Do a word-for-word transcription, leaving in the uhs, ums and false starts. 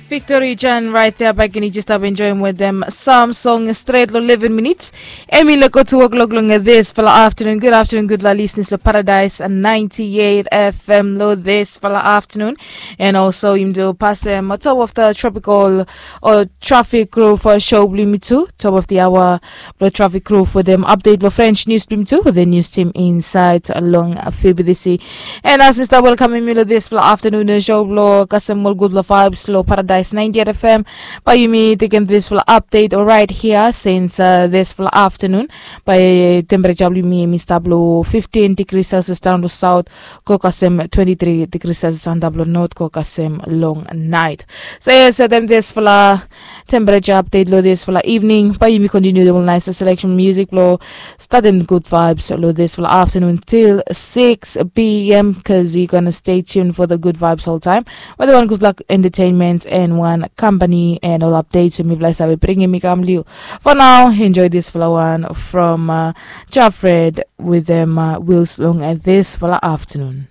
Victory Jan right there back in. You just have enjoying with them some song straight lo eleven minutes. Emi lo go to o'clock long this for the afternoon. Good afternoon, good la listeners lo Paradise and ninety-eight F M lo this for the afternoon. And also you do pass them on top of the tropical or traffic crew for show blue me too. Top of the hour blo traffic crew for them update blo French news blue me too. The news team inside along F B C. And as Mister Welcome Milo this fla afternoon show blo kasem ol good la vibes lo Paradise ninety-eight F M. By yumi taking this fla update right here since uh, this fla afternoon. By temperature blo yumi Mister Blo fifteen degrees Celsius down to south. Go kasem twenty-three degrees Celsius and blo north go kasem long night. So yes, so them this fla temperature update lo this fla evening. By yumi continue the nice selection music blo starting good vibes lo this fla afternoon till six p.m. Because you're gonna stay tuned for the good vibes all time. But the one good luck entertainment and one company and all updates. So mi fla sabi bringing me come you. For now, enjoy this fla one from uh, Jafred with them uh, wheels long at this fla afternoon.